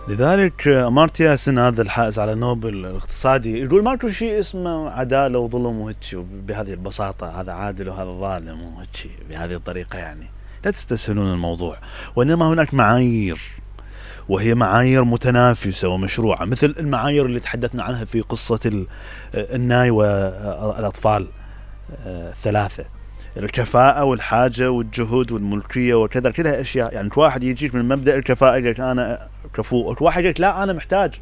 لذلك أمارتيا سن هذا الحائز على نوبل الاقتصادي يقول ماكو شيء اسمه عدالة وظلم وهيك بهذه البساطة، هذا عادل وهذا ظالم وهيك بهذه الطريقة. يعني لا تستسهلون الموضوع، وإنما هناك معايير، وهي معايير متنافسة ومشروعة، مثل المعايير اللي تحدثنا عنها في قصة الناي والأطفال الثلاثة، الكفاءة والحاجة والجهود والملكية وكذا، كلها أشياء. يعني واحد يجيك من مبدأ الكفاءة يقولك أنا كفؤ، واحد يقولك لا أنا محتاج،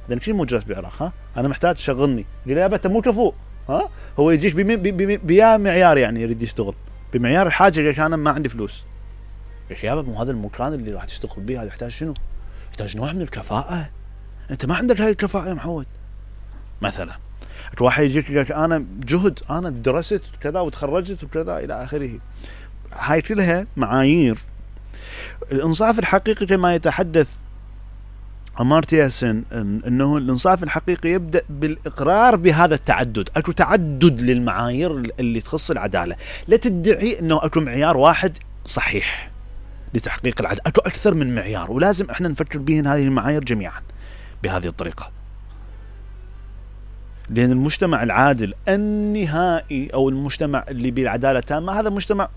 إذا كل موجود بعراق، ها أنا محتاج شغلني، يقول يا أنت مو كفؤ، ها هو يجيك بيا معيار، يعني يريد يشتغل بمعيار الحاجة، يقولك أنا ما عندي فلوس. يا شباب مو هذا المكان اللي راح تشتغل به، هذا يحتاج شنو؟ يحتاج نوع من الكفاءة. أنت ما عندك هاي الكفاءة يا محمود. مثلا واحد يجيك يقولك أنا جهد، أنا درست كذا وتخرجت وكذا إلى آخره. هاي كلها معايير. الإنصاف الحقيقي كما يتحدث أمارتيا سن أنه الإنصاف الحقيقي يبدأ بالإقرار بهذا التعدد. أكو تعدد للمعايير اللي تخص العدالة، لا تدعي أنه أكو معيار واحد صحيح لتحقيق العدالة، أكو أكثر من معيار، ولازم إحنا نفكر بهن هذه المعايير جميعا بهذه الطريقة. لأن المجتمع العادل النهائي أو المجتمع اللي بالعدالة التامة هذا مجتمع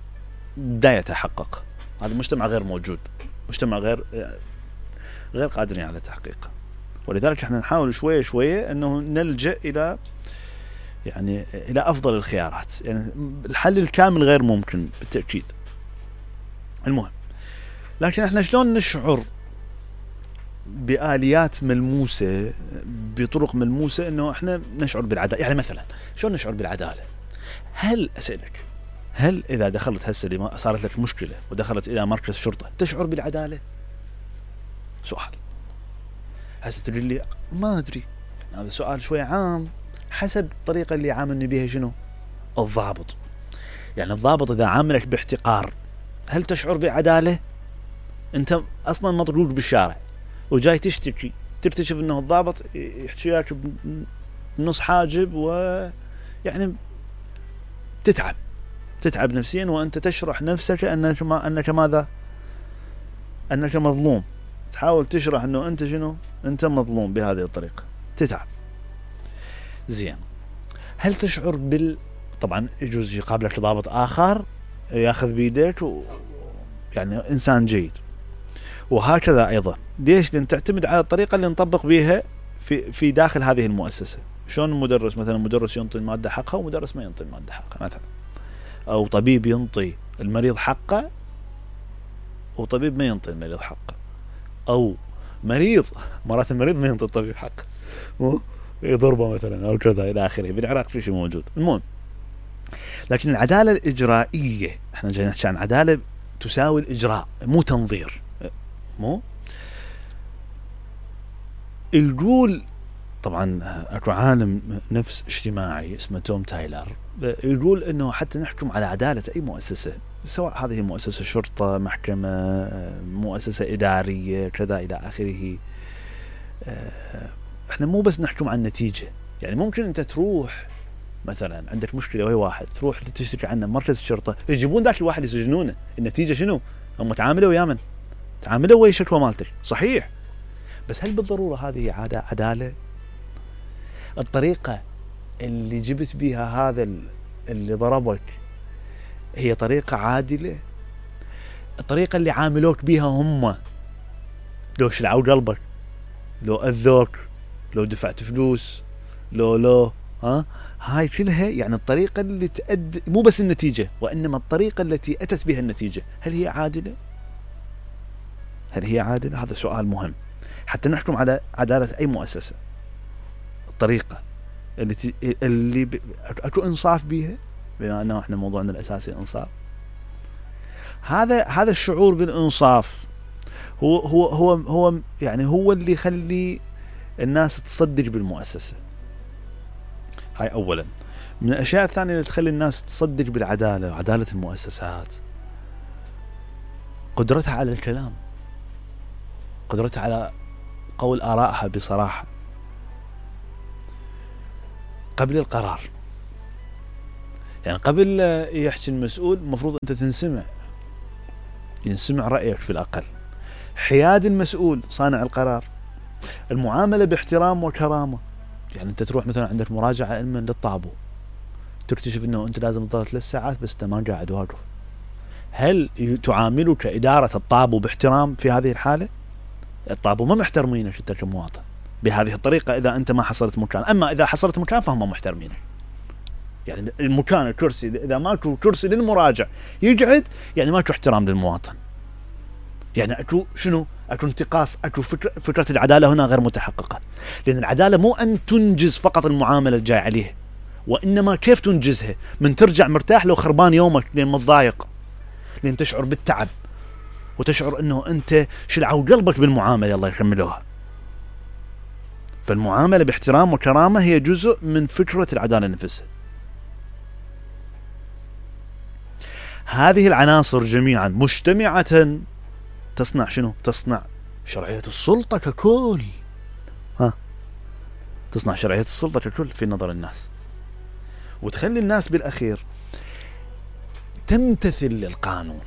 لا يتحقق، هذا مجتمع غير موجود، مجتمع غير قادرين على تحقيقه. ولذلك احنا نحاول شوية شوية أنه نلجأ إلى يعني إلى أفضل الخيارات. يعني الحل الكامل غير ممكن بالتأكيد. المهم، لكن احنا شلون نشعر بآليات ملموسة، بطرق ملموسة أنه إحنا نشعر بالعدالة؟ يعني مثلا شلون نشعر بالعدالة؟ هل أسألك، هل إذا دخلت هسه صارت لك مشكلة ودخلت إلى مركز شرطة تشعر بالعدالة؟ سؤال. هسه تقول لي ما أدري، هذا سؤال شوي عام، حسب الطريقة اللي عاملني بها شنو الضابط. يعني الضابط إذا عاملك باحتقار هل تشعر بالعدالة؟ أنت أصلا مطلوب بالشارع وجاي تشتكي، تكتشف انه الضابط يحكي لك بنص حاجب، ويعني تتعب نفسيا، وانت تشرح نفسك انك ماذا؟ انك مظلوم. تحاول تشرح انه انت شنو؟ انت مظلوم بهذه الطريقة، تتعب. زين، هل تشعر طبعا يجوز يقابلك ضابط اخر ياخذ بيدك يعني انسان جيد، وهكذا ايضا. ليش؟ لأن تعتمد على الطريقة اللي نطبق بها في داخل هذه المؤسسة. شلون المدرس مثلا، مدرس ينطي المادة حقها ومدرس ما ينطي المادة حقها مثلا، أو طبيب ينطي المريض حقه وطبيب ما ينطي المريض حقه، أو مريض مرات المريض ما ينطي الطبيب حقه، يضربه مثلا أو كذا إلى آخره. بالعراق في شيء موجود. المهم، لكن العدالة الإجرائية، احنا جايين نحكي عن عدالة تساوي الإجراء، مو تنظير. مو يقول طبعا اكو عالم نفس اجتماعي اسمه توم تايلر، يقول انه حتى نحكم على عدالة اي مؤسسة، سواء هذه مؤسسة شرطة، محكمة، مؤسسة ادارية، كذا الى اخره، احنا مو بس نحكم عن النتيجة. يعني ممكن انت تروح مثلا عندك مشكلة وهي واحد، تروح تشتكي عنه مركز الشرطة، يجيبون ذاك الواحد يسجنونه. النتيجة شنو؟ هم تعاملوا ويا من؟ تعاملوا ويا شكوى مالتك، صحيح، بس هل بالضرورة هذه عدالة؟ الطريقة اللي جبت بها هذا اللي ضربك هي طريقة عادلة؟ الطريقة اللي عاملوك بها هم، لو شلعوا قلبك، لو أذوك، لو دفعت فلوس، لو هاي كلها يعني الطريقة اللي تؤدي، مو بس النتيجة وإنما الطريقة التي أتت بها النتيجة، هل هي عادلة؟ هل هي عادلة؟ هذا سؤال مهم حتى نحكم على عدالة أي مؤسسة. الطريقة اللي أكو إنصاف بيها، بما أنه إحنا موضوعنا الأساسي إنصاف. هذا الشعور بالإنصاف هو يعني هو اللي يخلي الناس تصدق بالمؤسسة. هاي أولا. من الأشياء الثانية اللي تخلي الناس تصدق بالعدالة وعدالة المؤسسات، قدرتها على الكلام، قدرتها على قول آرائها بصراحة قبل القرار. يعني قبل يحكي المسؤول المفروض أنت ينسمع رأيك في الأقل. حياد المسؤول صانع القرار المعاملة باحترام وكرامة. يعني انت تروح مثلا عندك مراجعة علما للطابو، تكتشف انه انت لازم تظل 3 ساعات بس انت ما قاعد واقف، هل تعاملك إدارة الطابو باحترام في هذه الحالة؟ الطابو ما محترمينك انت كمواطن بهذه الطريقة اذا انت ما حصلت مكان. اما اذا حصلت مكان فهم محترمينك. يعني المكان الكرسي اذا ماكو كرسي للمراجع يقعد، يعني ماكو احترام للمواطن، يعني اكو شنو؟ اكو انتقاص، اكو فكرة العدالة هنا غير متحققة. لان العدالة مو ان تنجز فقط المعاملة الجاي عليه، وانما كيف تنجزها، من ترجع مرتاح لو خربان يومك لين متضايق، لين تشعر بالتعب وتشعر انه انت شلعوا قلبك بالمعاملة الله يكملوها. فالمعاملة باحترام وكرامة هي جزء من فكرة العدالة نفسها. هذه العناصر جميعا مجتمعة تصنع شنو؟ تصنع شرعية السلطة ككل. تصنع شرعية السلطة ككل في نظر الناس، وتخلي الناس بالأخير تمتثل للقانون.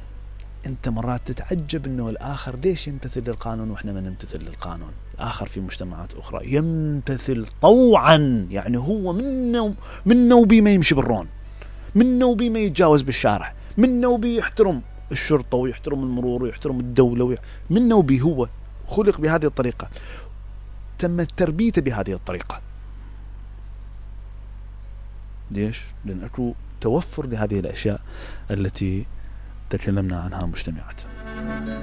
انت مرات تتعجب انه الآخر ليش يمتثل للقانون واحنا ما نمتثل للقانون. الآخر في مجتمعات أخرى يمتثل طوعا، يعني هو منه وبي ما يمشي بالرون، منه وبي ما يتجاوز بالشارع، منه وبي يحترم الشرطة ويحترم المرور ويحترم الدولة منه وبي هو خلق بهذه الطريقة، تم تربيته بهذه الطريقة. ليش؟ لأن أكو توفر لهذه الأشياء التي تكلمنا عنها مجتمعات.